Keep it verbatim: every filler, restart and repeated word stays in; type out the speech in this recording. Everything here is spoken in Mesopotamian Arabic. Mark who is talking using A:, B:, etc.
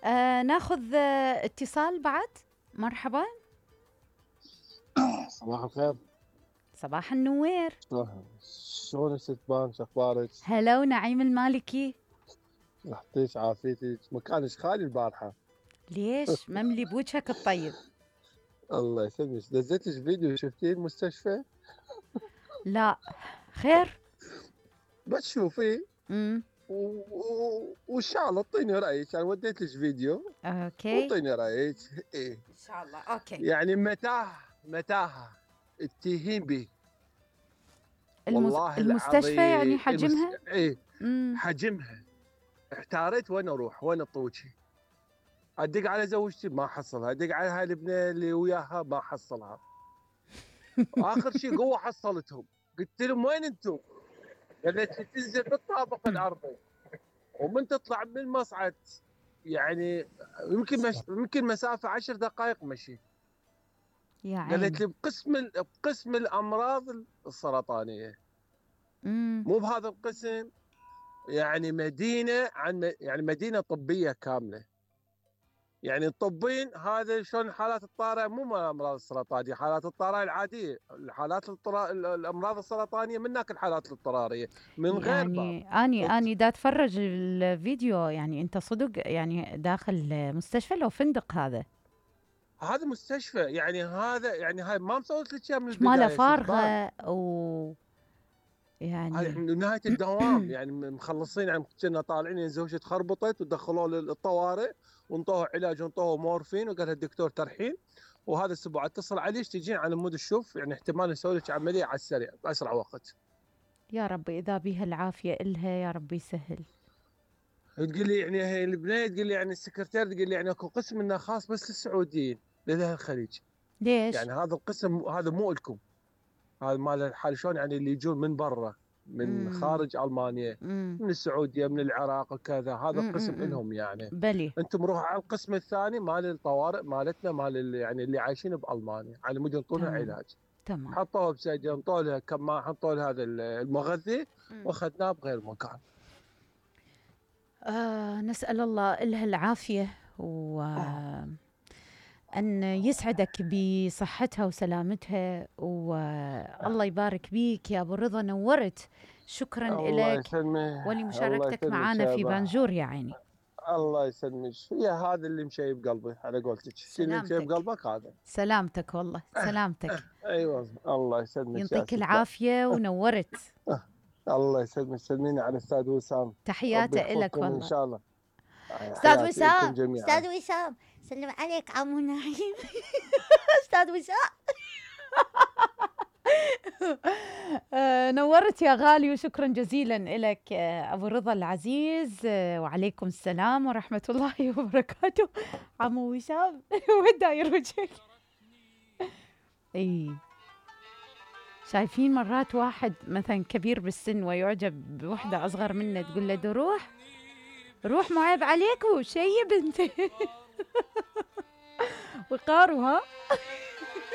A: آه ناخذ آه اتصال بعد. مرحبا.
B: صباح الخير.
A: صباح النوير.
B: شلونك ست بان، شو اخبارك؟
A: هلا ونعيم المالكي.
B: صحتك عافيتك، مكانك خالي البارحه.
A: ليش مملي بوجهك الطيب؟
B: الله يسلمك، دزيت لك فيديو شفتيه المستشفى؟
A: لا خير.
B: بس شوفي
A: امم
B: وان شاء الله اعطيني رايك. انا وديت لك فيديو
A: اوكي
B: واعطيني رايك. ايه
A: ان شاء الله. اوكي.
B: يعني متاهه متاهه التهين به.
A: المس...
B: والله
A: المستشفى يعني
B: العظيم المس...
A: حجمها.
B: ايه
A: امم
B: حجمها. احتاريت وين اروح، وين اطوجي. ادق على زوجتي ما احصلها، ادق على هاي البنيه اللي وياها ما احصلها. واخر شيء قوه حصلتهم. قلت لهم وين انتم؟ قالت لي تنزل بالطابق الارضي ومن تطلع من المصعد يعني يمكن مش... يمكن مسافه عشر دقائق مشي.
A: يا عيني.
B: قالت لي بقسم ال... بقسم الامراض السرطانيه.
A: امم
B: مو بهذا القسم، يعني مدينه عن يعني مدينه طبيه كامله. يعني الطبين هذا شلون الحالات الطارئه، مو من الامراض السرطانيه، حالات الطارئه العاديه، الحالات الطرا... الامراض السرطانيه من هناك الحالات الاضطراريه من غير باب.
A: يعني اني اني دا اتفرج الفيديو، يعني انت صدق يعني داخل مستشفى لو فندق هذا؟
B: هذا مستشفى، يعني هذا يعني هاي ما مسويت لك اياها من
A: شماله
B: البدايه ستبان.
A: فارغه و
B: هاي
A: يعني
B: احنا نهايه الدوام يعني مخلصين، يعني كنا طالعين يعني زوجتي تخربطت ودخلوه للطوارئ وانطوه علاج وانطوه مورفين وقال الدكتور ترحيل. وهذا الاسبوع اتصل عليش تجين على مود الشوف، يعني احتمال نسوي لك عمليه على السريع باسرع وقت.
A: يا رب اذا بيها العافيه الها يا رب يسهل.
B: تقول لي يعني هي البنيه، تقول لي يعني السكرتير، تقول لي يعني اكو قسم منه خاص بس للسعوديين لاهل الخليج.
A: ليش؟
B: يعني هذا القسم هذا مو لكم، هذا مال الحال شلون يعني اللي يجون من برا، من
A: امم
B: خارج المانيا،
A: امم
B: من السعوديه، من العراق وكذا، هذا القسم
A: امم
B: لهم يعني.
A: بلي.
B: انتم روحوا على القسم الثاني مال الطوارئ مالتنا، مال اللي يعني اللي عايشين بالمانيا على مود ينطونها
A: تمام
B: علاج.
A: تمام.
B: حطوها بسجن، حطوا لها كمان، حطوا لها هذا المغذي
A: مم.
B: واخذناه بغير مكان.
A: آه نسأل الله إلها العافية وأن يسعدك بصحتها وسلامتها، والله يبارك بيك يا أبو رضا، نورت. شكرا
B: الله
A: لك
B: يسلمك، الله
A: ولمشاركتك
B: يسلمك
A: معنا
B: يا
A: في
B: با.
A: بانجور يا عيني.
B: الله يسلمك، هي هذا اللي مشي بقلبي على قولتك، الشيء اللي مشي
A: سلامتك.
B: بقلبك هذا.
A: سلامتك والله سلامتك.
B: ايوه الله يسلمك يا
A: يعطيك
B: ستة.
A: العافية ونورت.
B: الله يسلمك، سلميني على الاستاذ وسام. ربي
A: تحياتي إلك
B: يحفظكم ان
A: والله.
B: شاء الله.
A: أستاذ
B: حياتي لكم
A: وسام،
B: جميعا.
A: أستاذ وسام، سلم عليك عمو نعيم. أستاذ وسام. آه، نورت يا غالي وشكرا جزيلا لك آه، أبو رضا العزيز. آه، وعليكم السلام ورحمة الله وبركاته. عمو وسام. وين داير وجهك؟ اي شايفين مرات واحد مثلا كبير بالسن ويعجب بوحدة أصغر منه، تقول له ده روح روح مو عيب عليك وشيب انت. وقاروا ها.